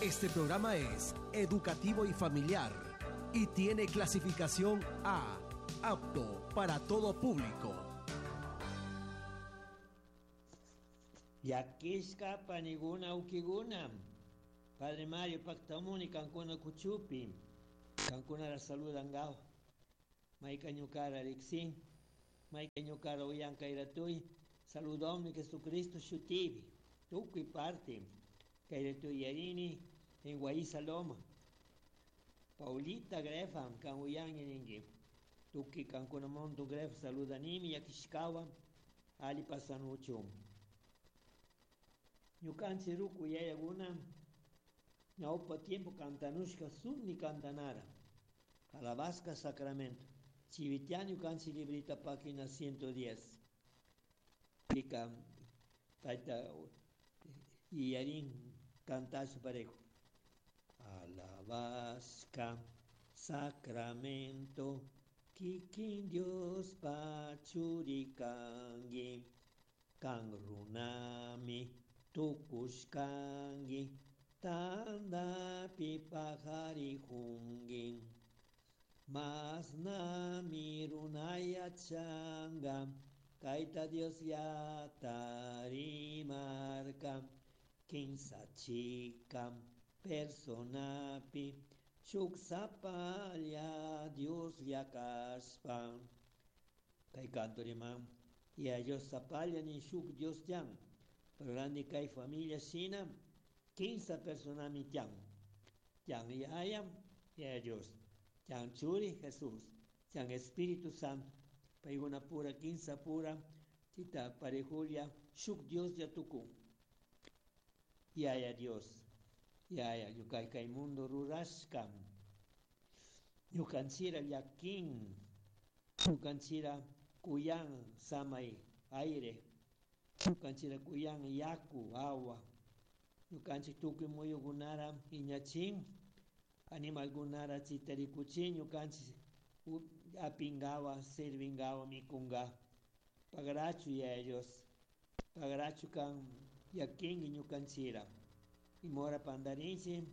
Este programa es educativo y familiar y tiene clasificación A, apto para todo público. Llakishka paniguna ukiguna. Padre Mario paktamuni kankuna kuchupi. Kankunara saludangawa. Mayka ñukara riksin. Mayka ñukara uyankayratuy. Saludomi Jesucristo shutipi. Tukuy parte. Kayratuy yarini en Guaíza Loma. Paulita Grefa, kan uyangi ningi. Tukuy kankuna monto Grefa saludanimi llakishkawan ali pasanuchun. Ñukanchik ruku yayakuna ñawpa tiempo cantanushka sunni cantanara. Alabasca Sacramento. Chivitian ñukanchik librita página 110. Pika taita yarin cantashu parejo. Alabasca Sacramento kikin Dios pachurikangi kan runami tukushkangi tandapi pajarijungi masnami runayachanga kayta Dios yatarimarka kinsa chika personapi shuk sapalla Dios yakashpa kay canto riman ya Dios sapalla ni shuk Dios tian pero randi kay familia shina kinsa personami tian tian yaya ya Dios tian churi Jesús tian Espíritu Santo paykuna pura kinsa pura chita parejulia shuk Dios yatukun yaya Dios yaya ñukay kay mundo rurashka ñukanchira llakin ñukanchira kuyan samay aire ñukanchira kuyan yaku agua ñukanchik tukuy muyukunara iñachin animalkunara chita rikuchin ñukanchik apingawa servingawa mikunga pagrachu yaya Dios pagrachu kan llakinki ñukanchira imora pandarinchik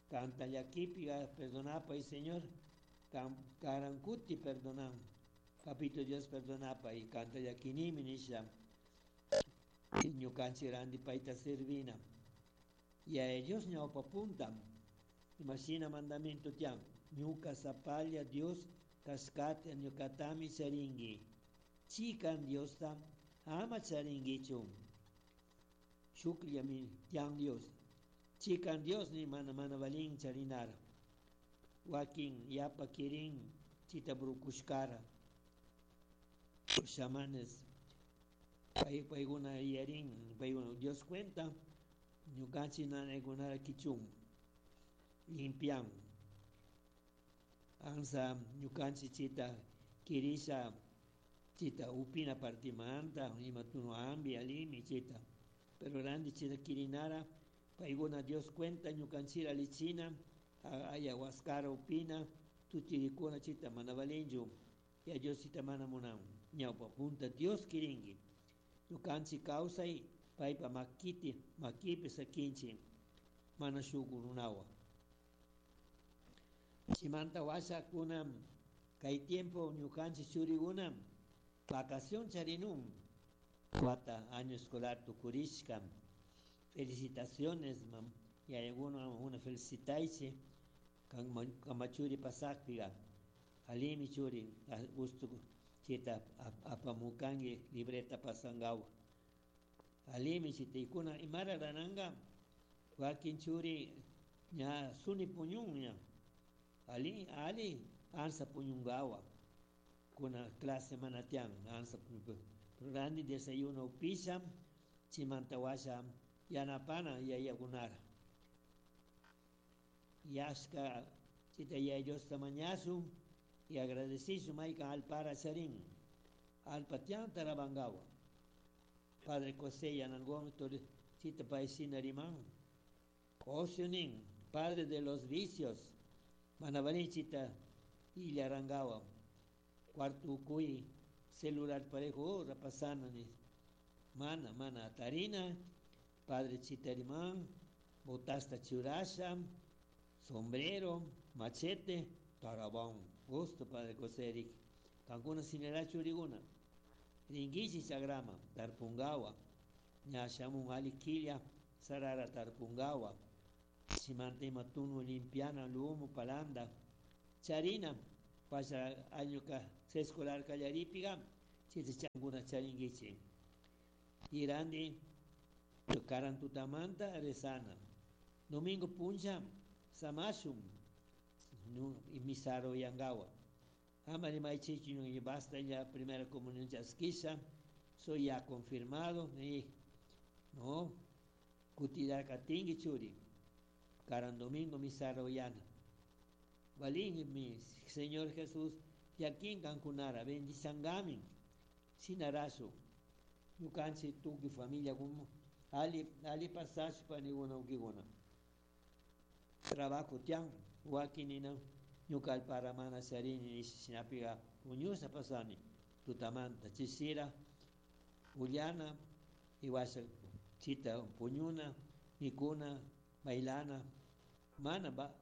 kanta llakipi perdonapay Señor kan karankuti perdonan Papito Dios perdonapay kanta llakinimi nisha ñukanchik randi payta servina yaya Dios ñawpa punta imashina mandamiento tiyan ñuka sapalla Dios kashkata ñukatami charinki chikan Diosta ama charinkichu shukllami tiyan Dios chikan Dios ni mana mana valin charinara wakin yapa kirin chita brukushkara chamanes pay paykuna yarin paykuna Dios cuenta ñukanchik nanaykunara kichun limpian ansa ñukanchik chita kirisha chita upina partimanta ima tunu ambi alimi chita pero randi chita kirinara paykuna Dios cuenta ñukanchira lichina ayahuascara upina tutirikuna chita mana valinchu ya Dios chita mana munan ñawpa punta Dios kirinki ñukanchik kawsay paypa makiti makipi sakinchik mana shuk runawan chimanta washakuna kay tiempo ñukanchik churikuna vacación charinun wata año escolar tukurishka felicitaciones mam yayakuna una felicitaychik kama churi pasakpiga alimi churi gusto chita apamukanki libreta pasangawa alimi chita ikuna imara rananga wakin churi ña suni puñun ña ali ali ansa puñungawa kuna clase mana tiyan ansa randi desayuno upisha chimanta washa yanapana yayakunara yashka chita yaya Diosta mañashun y agradecishun maykan alpara charin alpa tiyan tarabangawa Padre José Yanangón chita pay shina riman ocio nin padre de los vicios mana valin chita illarangawa cuarto ukuy celular parejo hora pasana ni mana mana tarina padre chita riman Botasta churasha, sombrero, machete, tarabón. Gusto padre José Kankuna sinera churiguna. Ringichi chagrama, tarpungawa. Ña shamun ali quilla, sarara tarpungawa. Chimanta ima tunu limpiana, lumo, palanda. Charina, pasha añuka escolar kallaripiga, chita changuna charinguichi. Irandi, karan tutamanta rezana. Domingo puncha, samashum, misaro yangawa. Amari maichichi y basta ya primera comunión chasquisha, soy ya confirmado, y no, kutidar katingi churi, karan domingo misaro yana. Balín mi Señor Jesús, yakin kankunara, bendisangamin, sinarasu, ñukanchik tukuy familia como ali ali pasashpa niguna ukiguna. Trabajo tian, wakinina, ñuka alpara mana charini shinapiga puñusha pasani, tutamanta chisira, ullana, iwasha chita puñuna, mikuna, bailana, mana ba,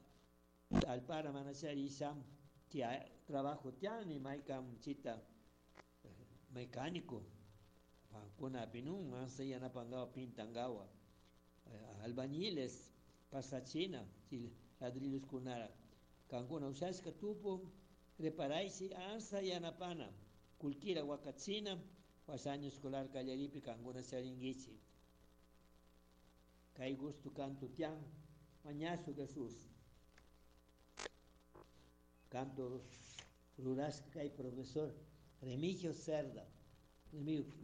alpara mana charisha, tia, trabajo tiani maykam chita mecánico, kuna pinun, ansa yanapangawa pintangawa, albañiles, pasachina, ladrillos kunara, kankuna ushashka tupu, reparaysi ansa yanapana, kulkira wakachina, washa año escolar kallaripi kankuna charinguichi. Kay gusto canto tian, mañazo Jesús. Canto rurashka kay profesor Remigio Cerda.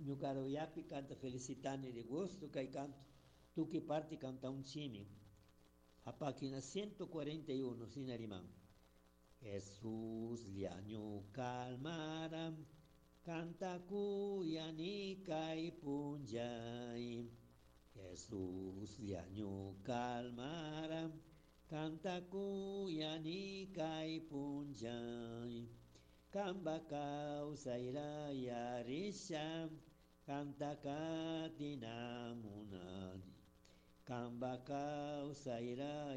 Ñukaro yapi canta felicitani de gusto kay canto. Tuki parte canta un chimi. A página 141, sinarimán. Jesús llañu calmara, canta kuyani kay punllay. Jesús llañu calmara, canta kuyani kay punllay. Kamba kawsayra yarisha, canta katina munani. Kamba kawsayra.